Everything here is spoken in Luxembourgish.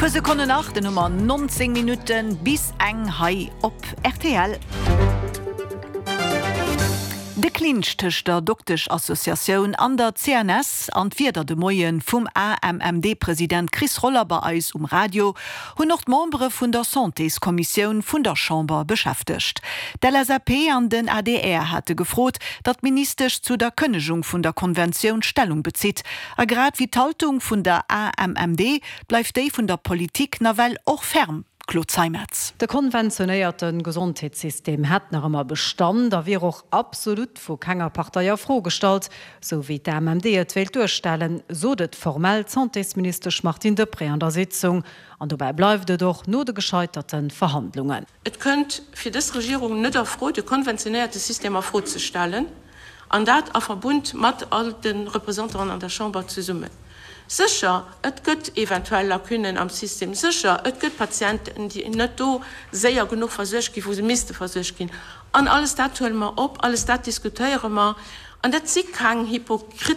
Puer Sekonnen nach, dann hu mer 19 Minutte bis eng hei op rtl. De Clinch tëscht der Dokteschassociatioun an der CNS an d'Wierder de Moie vum AMMD-President Chris Roller bei eis um Radio hunn och d'Membere vun der Santéskommissioun vun der Chamber beschäftegt. D'LSAP an den adr hate gefrot, datt d'Ministesch zu der Kënnegung vun der Konventioun Stellung bezitt. A grad wéi d'Haltung vun der AMMD bleift déi vun der Politik nawell och ferm, Claude Zeimetz. De konventionéierte Gesondheetssystem hätt nach ëmmer Bestand a wier och absolut vu kenger Partei a Fro gestallt, sou wéi d'AMMD et wéilt duerstellen, sot et formell d'Santésministesch Martine Deprez an der Sitzung. An dobäi bleift et och no de gescheiterte Verhandlungen. Et kënnt fir dës Regierung net a Fro, de konventionéierte System a Fro ze stellen, an dat a Verbund mat all de Représentanten an der Chamber zesummen. Sécher, et gëtt eventuell Lacunen am System, sécher, et gëtt Patienten, déi net do séier genuch versuergt ginn, wou se misste versuergt ginn. An alles dat huele mer op, alles dat diskutéiere mer. An dat si keng Hypokriten.